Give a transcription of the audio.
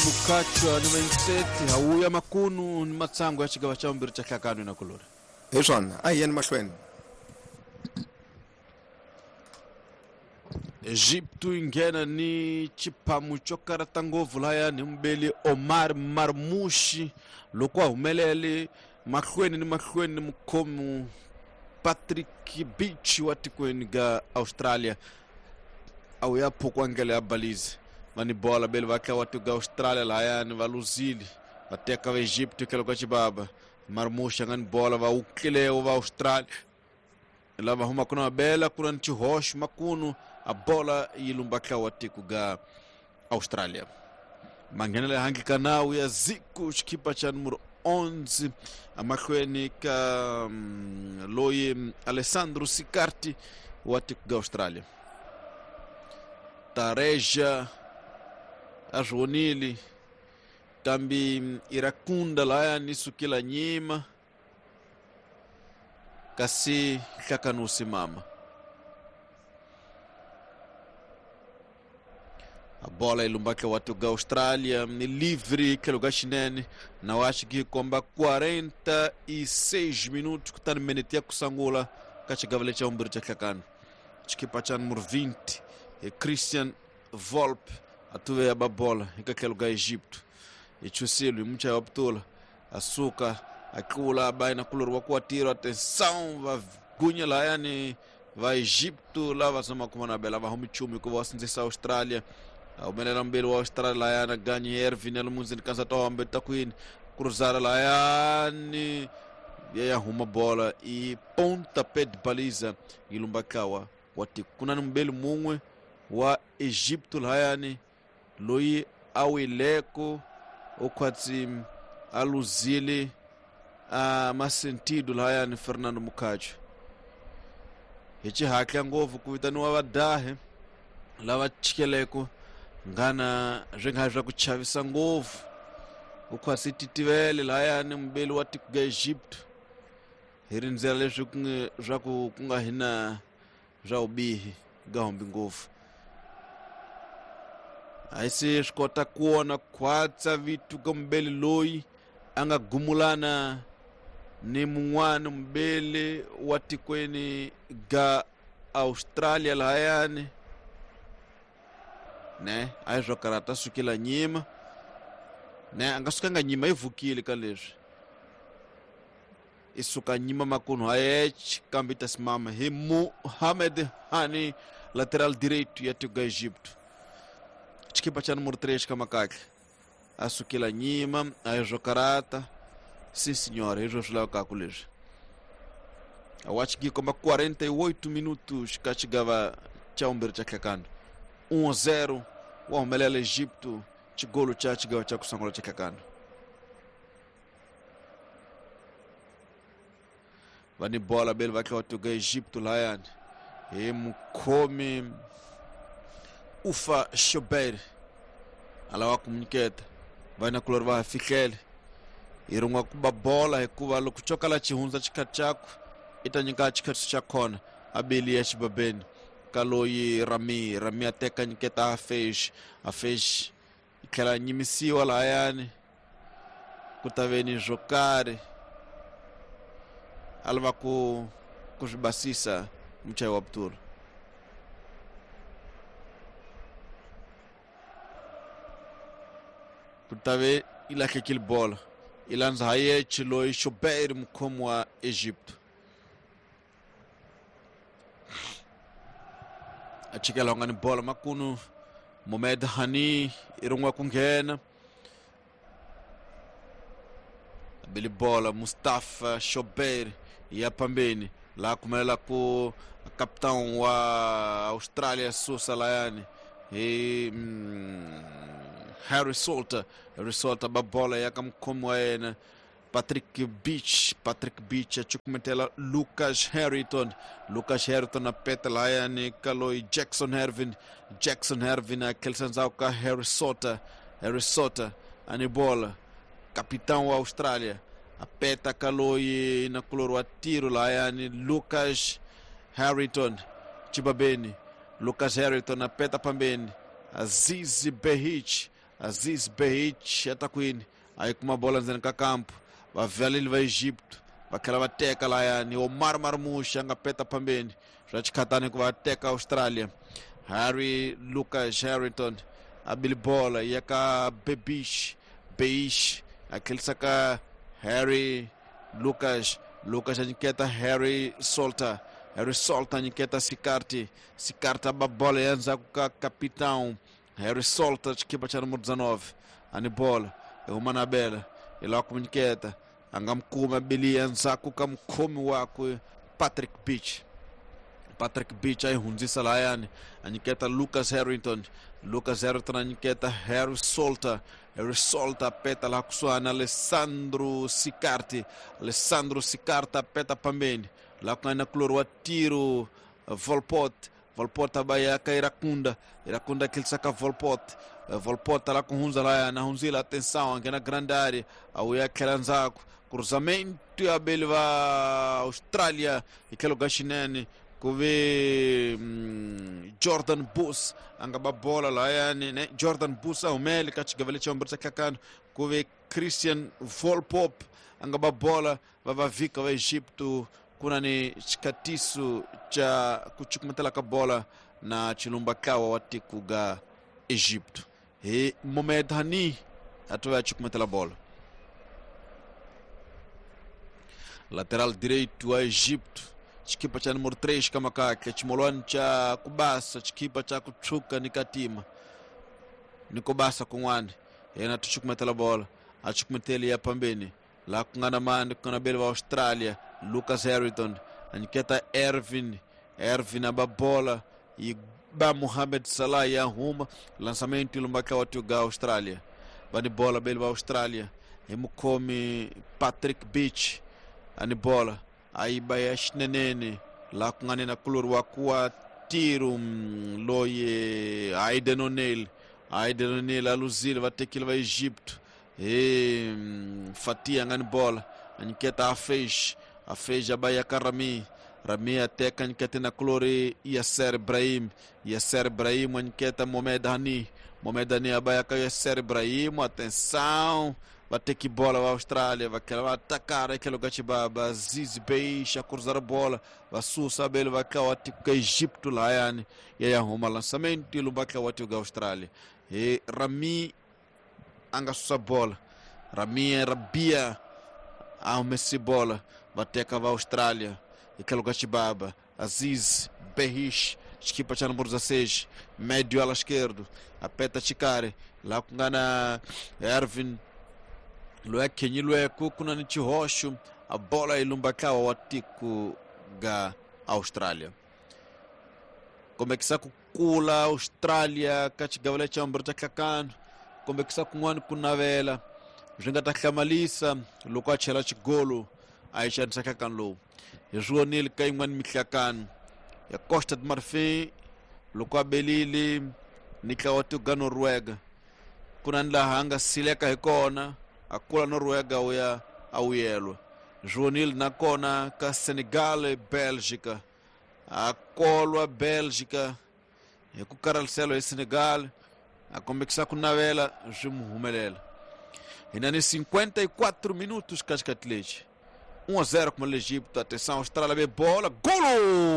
Mukachwa ni Venseti hawuya makunu ni matsango ya xigava xa vumbirhi xa hlakano na kulori. Hi swona, a hi yeni mahlweni. Egipto yi nghena ni xiphamu xo karata ngopfu lahayani hi mubeli Omar Marmushi loko a humelele mahlweni ni mahlweni ni mukhomi Patrick Beach wa tikweni ga Australia a wu ya phukwa ndlela ya Belize va ni bola beli va tlawa tiko ga Australia lahayani va luzile va teka va Egypt tlhelo ka xibaba Marmushi a nga ni bola va wuklilewo va Australia lava humaka na mabela ku na ni xihoxo makunu a bola yi lumba tlawa tiko ga Australia manghenela ehandle ka nawu ya Zico xikhipa xa numero 11 emahlweni ka loyi Alessandro Sicarti wa tiko ga Australia Tareja a swi vonile kambe Irakunda lahayani sukela nyima kasi hlakanusi mama a bola yi lumba wa tiko ga Australia ni livre tlhelo ka xinene na wa xi komba 46 minutos kutani minute ya kusangula ka xigava lexi xa vumbirhi xa hlakano xikipa xa numero 20 hi Christian Volpe a tuve ya ba bola eka tlhelo ka Egipto hi chusile hi muchayi wa putula a suka a tlula a ba na kulori wa ku wa tirho atenção va gunya lahayani va Egipto lava zama kuma na bela va humi nchumu hikuva wa sindzisa Australia a humelela mbili wa Australia lahayani a ganyi Ervin ya lomundzini kansa tombe takwini cruzara lahayani ya ya huma bola i pontapé de baliza yi lumba tlawa wa tiko ku na ni mubeli mun'we wa Egipto lahayani loyi a wileko u khwatsi a luzile a masentido lahayani Fernando Mukhacho hi xihatla ngopfu ku vitaniwa vadahi lava chikeleko ngana swi nga swa ku chavisa ngopfu u khwatsi titivele lahayani mubeli wa tiko ga Egypt hi rindzela leswi swa ku ku nga hina swa vubihi ga humbi ngopfu a yi se swi kota ku vona khwatsa vito ka mubeli loyi a nga gumulana ni mun'wana mubeli wa tikweni ga Australia lahayani ne a yi swo karata sukela nyima ne a nga sukanga nyima yi vukile ka leswi i suka nyima makunu hayech kambe ta simama hi Mohamed Hani lateral direito ya tiko ga Egipto xikipa xa numero 3 ka makahle a sukela nyima a yi swo karata sim senhora hi swo swi lavekaka leswi a watch gi komba 48 minutos ka xigava xa vumbirhi xa hlakano 1-0 wa humelela Egipto xigolo xa xigava xa ku sungula xa hlakano va ni bola beli va tlhela va tuka Egipto lahayani hi mukhomi Ufa Shober a lava ku nyiketa va na kulori va ha fihlele hi rin'wa ku ba bola hikuva loko xo kala xi hundza xikhathi xakwe i ta nyika xikhathi xa kona a beli ya xibabeni ka loyi Rami Rami a teka nyiketa a Fesh a Fesh yi tlhela a nyimisiwa lahayani ku ta ve ni swo karhi a lava ku ku swi basisa muchayi wa putula ku ta ve yi lahlekile bola yi landza Hayech loyi Shobeir mukhomi wa Egypt a chikela nga ni bola makunu Mohamed Hani i rin'we ku nghena bili bola Mustafa Shobeir ya pambeni laha kumelela ku capitão wa Australia susa layani hi Harry Salter Harry Salter ba bola ya ka mukhomi wa yena Patrick Beach Patrick Beach a cukumetela Lucas Harrington Lucas Harrington a peta layani ka loyi Jackson Hervin Jackson Hervin a tlherisa ndzhaku ka Harry Salter Harry Salter a ni bola capitão wa Australia a peta ka loyi na kulori wa tiro layani Lucas Harrington chibabeni Lucas Harrington a peta pambeni Aziz Behich Aziz Behich ya ta kwini a yi kuma bola ndzeni ka kampo vavaleli va Egipto va tlhela va teka layani Omar Marmush a nga peta phambeni swa xikhatani ku va teka Australia. Harry Lucas Harrington a bili bola ya ka Bebish Beish a tlhelisa ka Harry Lucas. Lucas a nyiketa Harry Salter. Harry Salter a nyiketa Sikarti. Sikarti a ba bola ya ndzhaku ka capitão Harry Salter, xikipa xa numero 19 ani bola i huma na bela i lava ku mu nyiketa a nga mu kumi a bili endzhaku ka mukhomi wakwe Patrick Beach. Patrick Beach a yi hundzisa lahayani a nyiketa Lucas Harrington. Lucas Harrington a nyiketa Harry Salter. Harry Salter peta laha kusuhani Alessandro Sicarti. Alessandro Sicarti a peta phambeni laha ku nga na kulori wa tiro Volpot. Volpot a ba ya ka Irakunda. Irakunda a tlhelisa ka Volpot. Volpot la ku hundza lahayani a hundzile, atenção, a nghena grande área, a vuya tlhela ndzhaku. Cruzamento ya beli va Australia hi tlhelo ka xinene ku ve Jordan Bus a nga ba bola lahayani ne Jordan Bus a humele ka xigava lexi vumbirhi xa nhlangano ku ve Christian Volpop a nga ba bola va va vhika va Egipto ku na ni xikhatiso xa ku cukumetela ka bola na chilumba tlawa wa tiko ga Egipto hi Mohamed Hani a tove a cukumetela bola. Lateral direito wa Egipto, xikipa cha número 3 ka makakhe, ximolwani cha kubasa, xikipa cha ku tshuka ni katima ni kubasa kun'wana, yena tu cukumetela bola, a cukumeteli ya pambeni laha ku nga na mani, ku nga na beli va Australia Lucas Harrington a nyiketa Ervin. Ervin a ba bola yi ba Mohamed Salah ya huma lançamento lumba wa ga Australia va ni bola beli va Australia hi mukhomi Patrick Beach ani bola a yi ba ya xinenene laha ku nga ni na kulori wa ku wa tiro loyi Aiden O'Neill. Aiden O'Neill a luzile va tekile va Egipto hi Fatia nga ni bola a nyiketa Afej. Afej a ba ya ka Rami. Rami a teka a nyiketa na kulori Yasser Ibrahim. Yasser Ibrahim a nyiketa Mohamed Hani. Mohamed Hani a ba ya ka Yasser Ibrahim, atenção, va teki bola va Austrália, va tlhela va atakara etlhelo ka xibaba Aziz Beish a cruzar bola va susa bele va tlawa tiko ka Egipto lahayani ya ya huma lançamento lumba tlawa tiko ka Austrália hi Rami a nga susa bola. Rami Rabia a humesi bola va teka va Austrália hi tlhelo ka xibaba Aziz Behish, xikipa xa número 16, médio ala esquerdo, apeta xikari laha ku nga na Ervin loyi a khenyilweke ku na ni xihoxo a bola yi lumba ntlawa wa tiko ga Australia. Kombekisa ku kula Australia ka xigava lexi xa vumbirhi xa nhlangano, kombekisa kun'wana ku navela swi nga ta hlamalisa loko a chela xigolo a yi xanisa nhlangano lowu. Hi swi vonile ka yin'wana mihlangano ya Costa de Marfin loko a belile ni ntlawa wa tiko ga Noruega, ku na ni laha a nga sileka hi kona a kula Noruega wu ya a wuyelwa. Swi vonile nakona ka Senegal Belgica a kolwa Belgica hi ku karhalisela hi Senegal a kombekisa ku navela swi mu humelela. Hi na ni 54 minutos ka xikati lexi 1-0 kuma le Egipto. Atenção, Austrália be bola, golo!